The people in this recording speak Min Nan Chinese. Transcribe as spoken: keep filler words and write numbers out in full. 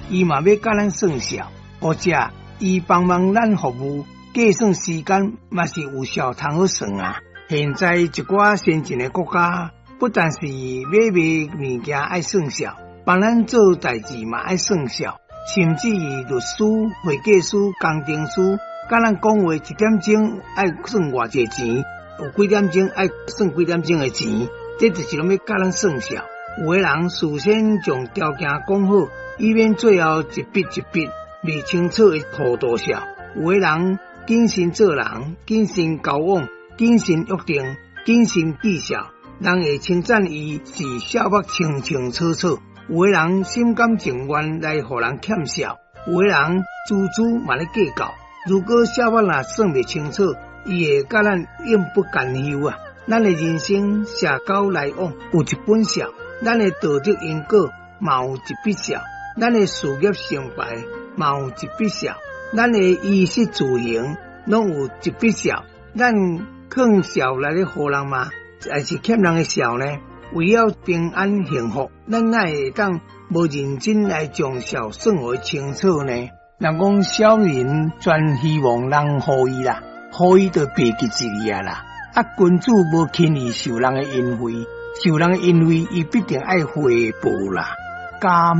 伊嘛欲佮咱算數，或者伊幫忙咱服務，計算時間嘛是有數通好算啊。現在一寡先進的國家，不但是買賣物件愛算數，幫咱做代誌嘛愛算數，甚至於律師、會計師、工程師，佮咱講話一點鐘愛算偌濟錢，有幾點鐘愛算幾點鐘的錢，這就是攏欲佮咱算數。有的人事先將條件講好，以免最後一筆一筆未清楚會予多少。有的人謹慎做人，謹慎交往，謹慎約定，謹慎記數，人會稱讚伊是數目清清楚楚。有的人心甘情願來予人欠數，有的人錙銖嘛咧計較。如果數目若算袂清楚，伊會佮咱永不甘休啊！咱的人生社交來往有一本數，咱的道德因果嘛有一筆數，咱的事業成敗嘛有一筆數，咱的衣食住行攏有一筆數。咱囥數來咧予人嗎？還是欠人的數呢？為了平安幸福，咱哪會當無認真來將數算予清楚呢？人講小人專希望人予伊啦，予伊就袂記一個啦。啊，君子無輕易受人的恩惠，受人的恩惠，伊必定愛回報啦。感